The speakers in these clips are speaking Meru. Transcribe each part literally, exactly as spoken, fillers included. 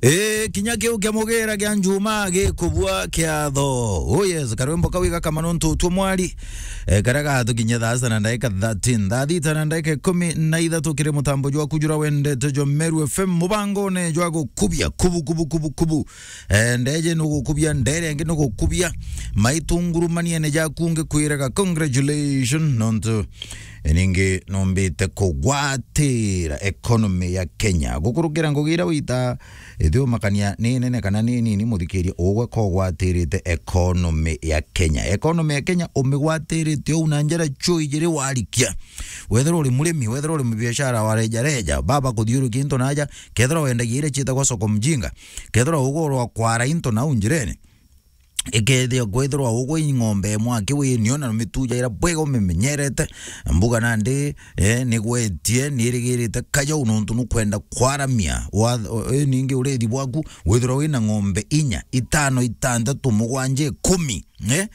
E, kinya kiu kia mugira kia njuma gikubua kiatho. Oh yes, karwimbo kau igakama nontu utwo mwari. E, karia gathukinyia thaa sita na ndagika thirteen. Thaa thita na ndagika ikumi na ithatu kiri mutambo jwaku jura wendete jwa Meru F M, mubangone jwa gukubia, kubu, kubu, kubu, kubu. E, ndeje nugukubia, ndere ngi nugukubia. Maitungurumaniene jaku ngikwiraga congratulations, nontu e, ningi numbite kugwatira economy ya Kenya. Gukurukira ngugi iria wita ithiumakania ni nene kana ni nini, muthikiria, ugwe kogwatirite economy ya Kenya. Economy ya Kenya umigwatirite uu na njira chui jiri warikia. Wethirwa uri murimi, wethirwa uri mubiashara wa reja reja, baba kuthiurukia into naja, kethirwa wendagia iria ciitagwa soko mjinga, kethirwa ugurwa kwara into nau njirene, ikethia kwithirwa ugwe i ng'ombe imwe aki winio na mituja ira bwega umimenyerete, mbuga nandi, eh, nigwetie, nirigirite kajau nontu nukwenda kwaramia wa, o, eh, ningi urithi bwaku, withirwa wina ng'ombe inya, itano, itantatu, mugwanja, ikumi, eh?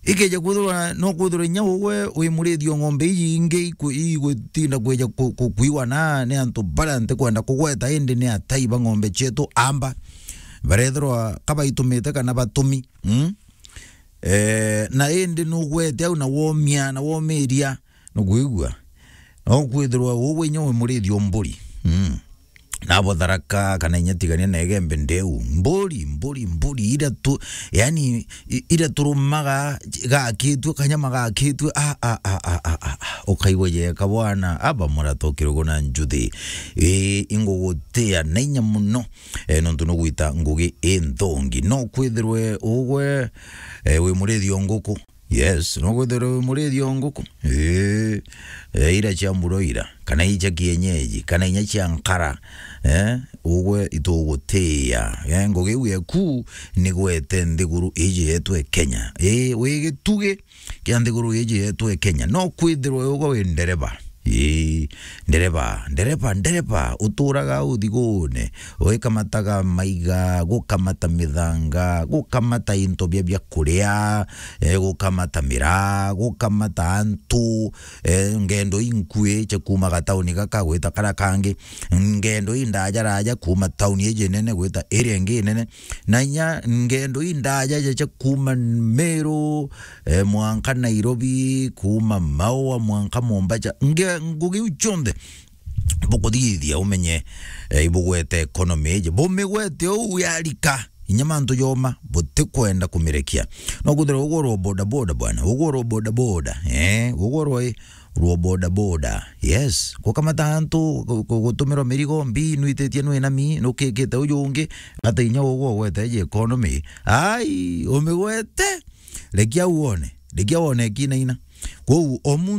Ikeja kwithirwa, no kwithirwa inya ugwe wi murithi o ng'ombe iji ingi iku-, igwitinda kwija ku-, ku-, kuigwa na ni antu baria ntikwenda kugweta, indi ni atai ba ng'ombe cietu amba. Barethirwa ka baitumite kana batumi. Mm? Eh, na indi nugwete au na womia, na womiria, nukwigua? No kwithirwa ugwe inya wi murithi o mburi. Mm. Nabo Tharaka kana inya tigania na Igembe ndeu. Mburi, mburi, mburi, ira tu, yani, i-, ira turumaga gakitue, kanyama gakitue, a, a, a, a, a, a, a, ukaigua jeka bwana, aba murato kirugo na njuthi. Ii, ingugutia na inya muno, e, nontu nugwita ngugi inthongi. No kwithirwe ugwe, e, wi murithi o nguku. Yes, no kwithirwa wi murithi o nguku. Ii, e, ira cia mburo ira, kana icia kienyeji, kana inya cia nkara, e, ugwe itugutia. E, ngugi iu yeku nigwete nthiguru iji yetu e Kenya. Ii, wi gitugi kia nthiguru iji yetu e Kenya. No kwithirwa ugwe wi ndereba. Ii, ndereba, ndereba, ndereba, uturaga uthigune, ugikamataga maiga, gukamata mithanga, gukamata into bia, bia kuria, e, gukamata miraa, gukamata antu, e, ngendo inkui cia kuuma gatauni gaka gwita karia kangi, ngendo indajaraja kuuma tauni iji nene gwita iria ingi nene, na inya ngendo indajaraja cia kuuma Meru, e, mwanka Nairobi, kuuma Maua, mwanka Mombasa. Nge-, ngugi iu cionthe bukuthithia umenye, e, ibugwete economy iji. Bumigwete uu yarika, inya mantu joma, butikwenda kumirekia. No kwithirwa ugurwa boda boda bwana, ugurwa boda boda, e, ugurwa i, rwa boda boda. Yes, gukamata antu, gu-, gu-, gutumirwa mirigo, mbi nwithitie nwinami, nukikite uju ungi, ata inya ugwe ugwete iji economy. Ai, umigwete. Rekia wone, rekia wone kinaina. Kwou o muntu